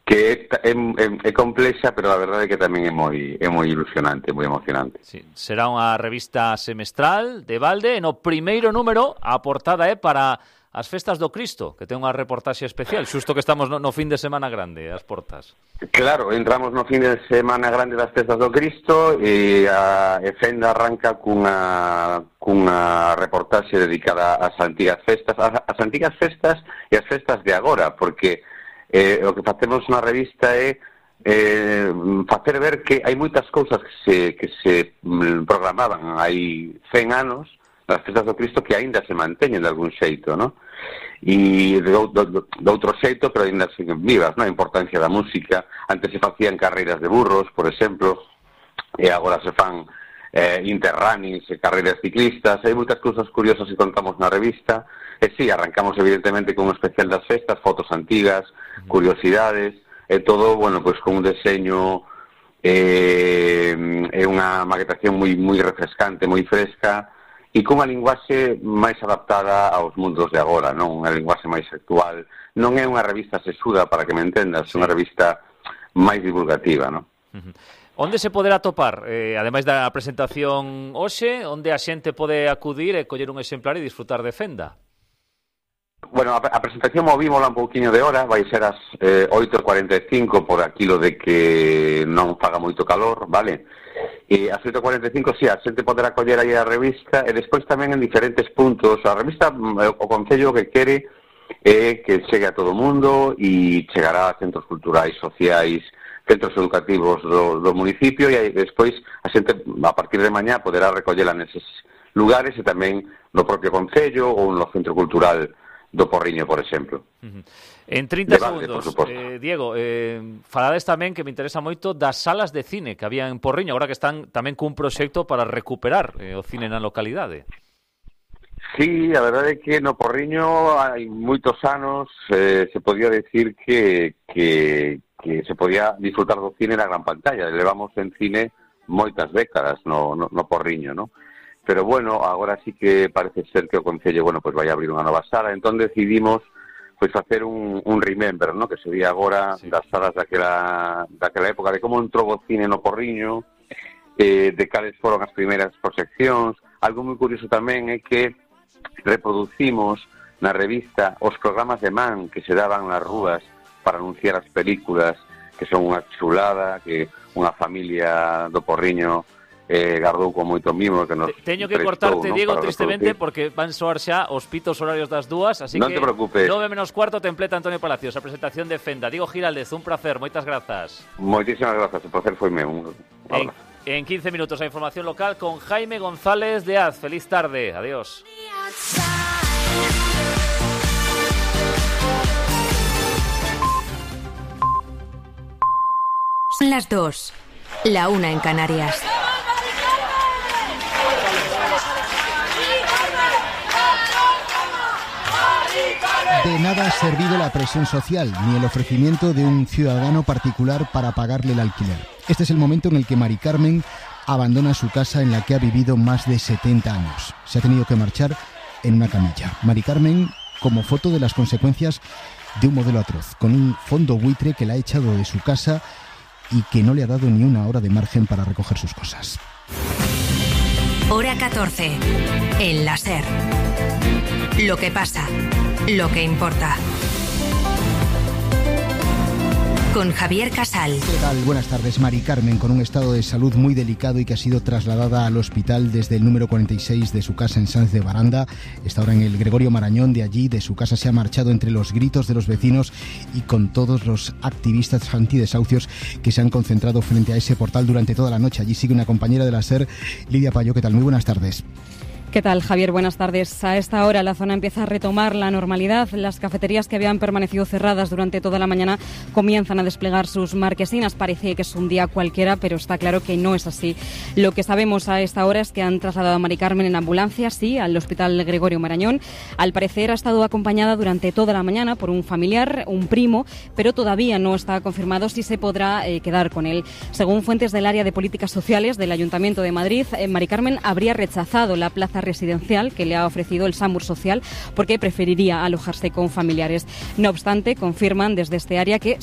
que é complexa, pero a verdade é que tamén é moi ilusionante, moi emocionante. Sí, será unha revista semestral de balde, no primeiro número a portada é para as festas do Cristo, que ten unha reportaxe especial, xusto que estamos no fin de semana grande, as portas. Claro, entramos no fin de semana grande das festas do Cristo e a Fenda arranca cunha reportaxe dedicada ás antigas festas e as festas de agora, porque o que facemos na revista é facer ver que hai moitas cousas que se programaban hai 100 anos nas festas do Cristo que aínda se manteñen de algún xeito, non? E de outro xeito, pero aínda siguen vivas, non? A importancia da música. Antes se facían carreiras de burros, por exemplo, e agora se fan interrunnings e carreiras ciclistas. Hai moitas cousas curiosas que contamos na revista. E sí, arrancamos evidentemente con un especial das festas, fotos antigas, curiosidades, e todo, bueno, pois con un deseño e unha maquetación moi refrescante, moi fresca, e cunha linguaxe máis adaptada aos mundos de agora, non? Unha linguaxe máis actual. Non é unha revista sesuda, para que me entendas, é unha revista máis divulgativa, non? Onde se poderá topar, ademais da presentación hoxe, onde a xente pode acudir e coller un exemplar e disfrutar de Fenda? Bueno, a presentación movímola un pouquiño de hora, vai ser as 8:45 por aquilo de que non faga moito calor, vale? E ás 8:45, sí, a xente poderá coller aí a revista, e despois tamén en diferentes puntos. A revista, o Concello que quere é que chegue a todo o mundo e chegará a centros culturais, sociais, centros educativos do municipio, e aí despois a xente, a partir de mañá, poderá recollela neses lugares e tamén no propio Concello ou no Centro Cultural do Porriño, por exemplo. En 30 segundos, Diego, falades tamén, que me interesa moito, das salas de cine que había en Porriño, agora que están tamén cun proxecto para recuperar o cine na localidade. Sí, a verdade é que no Porriño hai moitos anos se podía decir que se podía disfrutar do cine na gran pantalla. Levamos en cine moitas décadas no Porriño, non? Pero bueno, agora sí que parece ser que o Concello, bueno, pues vai abrir unha nova sala. Entón decidimos pois facer un remember, ¿no? Que sería agora das salas daquela época, de como entrou o cine no Porriño, de cales foron as primeiras proxeccións. Algo moi curioso tamén é que reproducimos na revista os programas de man que se daban nas rúas para anunciar as películas, que son unha chulada, que unha familia do Porriño gardou con moito mimo que nos teño que cortarte, Diego, tristemente, porque van soar xa os pitos horarios das dúas, así non que te preocupes. 9:45 templeta Antonio Palacios, a presentación de Fenda. Diego Giraldez, un placer, moitas grazas. Moitísimas grazas, o placer foi meu. En 15 minutos a información local con Jaime González de Az. Feliz tarde, adiós. Son las 2, la 1 en Canarias. De nada ha servido la presión social, ni el ofrecimiento de un ciudadano particular para pagarle el alquiler. Este es el momento en el que Mari Carmen abandona su casa en la que ha vivido más de 70 años. Se ha tenido que marchar en una camilla. Mari Carmen, como foto de las consecuencias de un modelo atroz, con un fondo buitre que la ha echado de su casa y que no le ha dado ni una hora de margen para recoger sus cosas. Hora 14, en la SER. Lo que pasa, lo que importa. Con Javier Casal. ¿Qué tal? Buenas tardes. Mari Carmen, con un estado de salud muy delicado y que ha sido trasladada al hospital desde el número 46 de su casa en Sáenz de Baranda. Está ahora en el Gregorio Marañón. De allí, de su casa, se ha marchado entre los gritos de los vecinos y con todos los activistas antidesahucios que se han concentrado frente a ese portal durante toda la noche. Allí sigue una compañera de la SER, Lidia Payó. ¿Qué tal? Muy buenas tardes. ¿Qué tal, Javier? Buenas tardes. A esta hora la zona empieza a retomar la normalidad. Las cafeterías que habían permanecido cerradas durante toda la mañana comienzan a desplegar sus marquesinas. Parece que es un día cualquiera, pero está claro que no es así. Lo que sabemos a esta hora es que han trasladado a Mari Carmen en ambulancia, sí, al Hospital Gregorio Marañón. Al parecer ha estado acompañada durante toda la mañana por un familiar, un primo, pero todavía no está confirmado si se podrá quedar con él. Según fuentes del área de políticas sociales del Ayuntamiento de Madrid, Mari Carmen habría rechazado la plaza residencial que le ha ofrecido el SAMUR Social porque preferiría alojarse con familiares. No obstante, confirman desde este área que